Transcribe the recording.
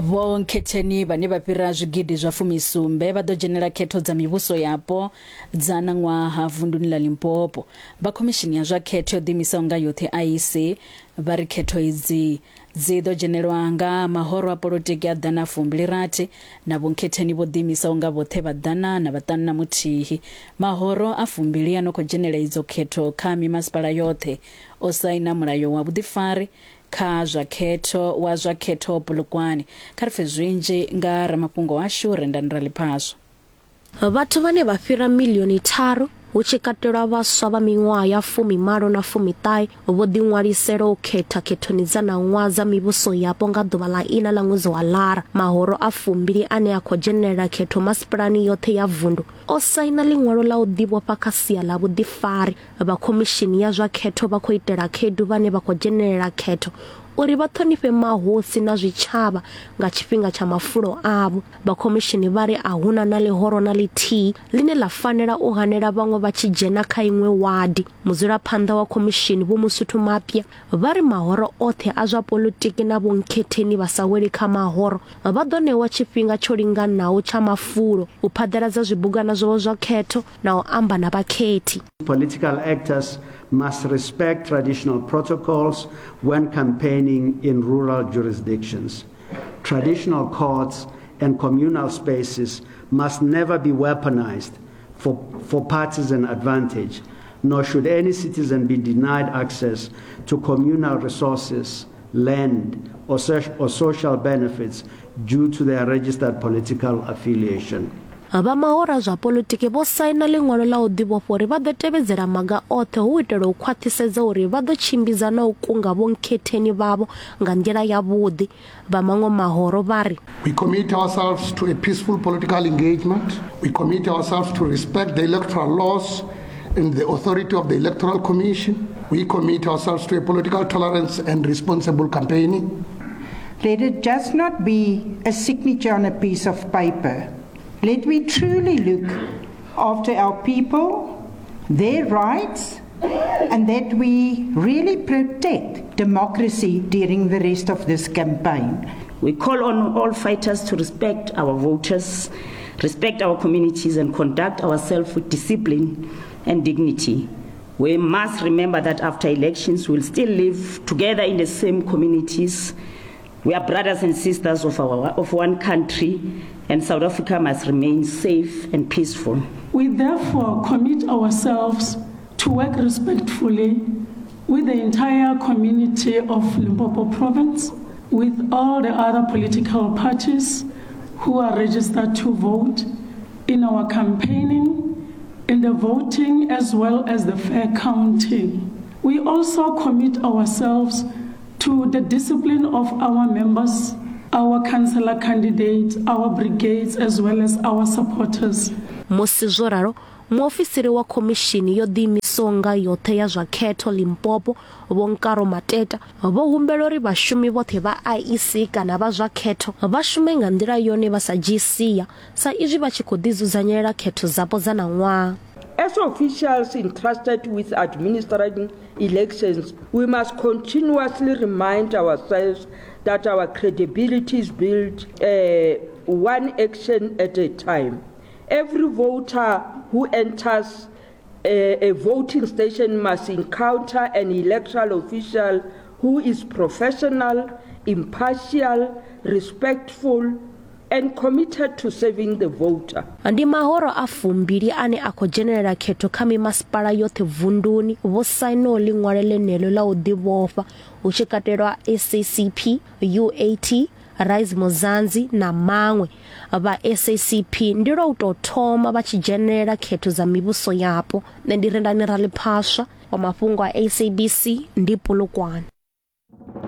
Vho Nkhetheni vhane vha fhira zwigidi zwa fumisumbe vha ḓo dzhenela khetho dza mivhuso yapo dza ṋaṅwaha vunduni ḽa Limpopo. Vha khomishini ya zwa khetho yo ḓiimisaho nga yoṱhe IEC vha ri khetho idzi dzi ḓo dzhenelwa nga mahoro a polotiki a ḓana fumbili rathi na vhonkhetheni vho ḓiimisaho nga vhoṱhe vha ḓana na vhaṱanu na muthihi. Mahoro a fumbili a no khou dzhenela idzo khetho kha mimasipala yoṱhe o saina mulayo wa vhuḓifari kha zwa khetho wa zwa khetho Polokwane. Kha ri pfe zwinzhi nga ramafhungo washu Rendani Raliphaswa. Vhathu vhane vha fhira miḽioni tharu, hu tshi katelwa vhaswa vha miṅwaha ya fumimalo na fumiṱahe, vho ḓiṅwalisela u khetha khethoni dza ṋaṅwaha dza mivhuso yapo nga ḓuvha ḽa iṋa ḽa ṅwedzi wa Lara. Mahoro a fumbili ane a khou dzhenelela khetho masipalani yoṱhe ya vundu o saina ḽiṅwalo ḽa u ḓivhofha kha sia ḽa vhuḓifari. Vha khomishini ya zwa khetho vha khou itela khaedu vhane vha khou dzhenelela khetho uri vha ṱhonifhe mahosi na zwitshavha nga tshifhinga tsha mafulo avho. Vha khomishini vha ri a hu na na ḽihoro na ḽithihi ḽine ḽa fanela u hanela vhaṅwe vha tshi dzhena kha iṅwe wadi. Mudzulaphanḓa wa khomishini Vho Mosotho Mapya vha ri mahoro oṱhe a zwa poḽotiki na vhonkhetheni vha sa weli kha mahoro vha ḓo ṋewa tshifhinga tsho linganaho tsha mafulo u phaḓaladza zwibugwana zwavho zwa khetho na u amba na vhakhethi. Political actors must respect traditional protocols when campaigning in rural jurisdictions. Traditional courts and communal spaces must never be weaponized for, for partisan advantage, nor should any citizen be denied access to communal resources, land, or, or social benefits due to their registered political affiliation. Vha mahoro a zwa poḽotiki vho saina ḽiṅwalo ḽa u ḓivhofha uri vha ḓo tevhedzela maga oṱhe hu u itela u khwaṱhisedza uri vha ḓo tshimbidza na u kunga vhonkhetheni vhavho nga nḓila yavhuḓi. Vha maṅwe mahoro vha ri. We commit ourselves to a peaceful political engagement. We commit ourselves to respect the electoral laws and the authority of the Electoral Commission. We commit ourselves to a political tolerance and responsible campaigning. Let it just not be a signature on a piece of paper. Let we truly look after our people, their rights, and that we really protect democracy during the rest of this campaign. We call on all fighters to respect our voters, respect our communities, and conduct ourselves with discipline and dignity. We must remember that after elections, we'll still live together in the same communities. We are brothers and sisters of, our, of one country, and South Africa must remain safe and peaceful. We therefore commit ourselves to work respectfully with the entire community of Limpopo Province, with all the other political parties who are registered to vote in our campaigning, in the voting, as well as the fair counting. We also commit ourselves to the discipline of our members, our councillor candidates, our brigades, as well as our supporters. Musi zwo ralo, muofisiri wa khomishini yo ḓiimisaho nga yoṱhe ya zwa khetho Limpopo, Vho Nkaro Mateta, vho humbela uri vhashumi vhoṱhe vha IEC kana vha zwa khetho vha shume nga nḓila yone vha sa dzhii sia sa izwi vha tshi khou ḓidzudzanyela khetho dzapo dza ṋaṅwaha. As officials entrusted with administering elections, we must continuously remind ourselves that our credibility is built uh, one action at a time. Every voter who enters a, a voting station must encounter an electoral official who is professional, impartial, respectful, and committed to serving the voter. Ndi mahoro a fumbili ane a khou dzhenelela khetho kha mimasipala yoṱhe vunduni vho sainaho ḽiṅwalo ḽeneḽo ḽa u ḓivhofha, hu tshi katelwa SACP, UAT, Rise Muzanzi na maṅwe. Vha SACP ndi lwa u tou thoma vha tshi dzhenelela khetho dza mivhuso yapo. Nṋe ndi Rendani Raliphaswa wa mafhungo a SABC ndi Polokwane.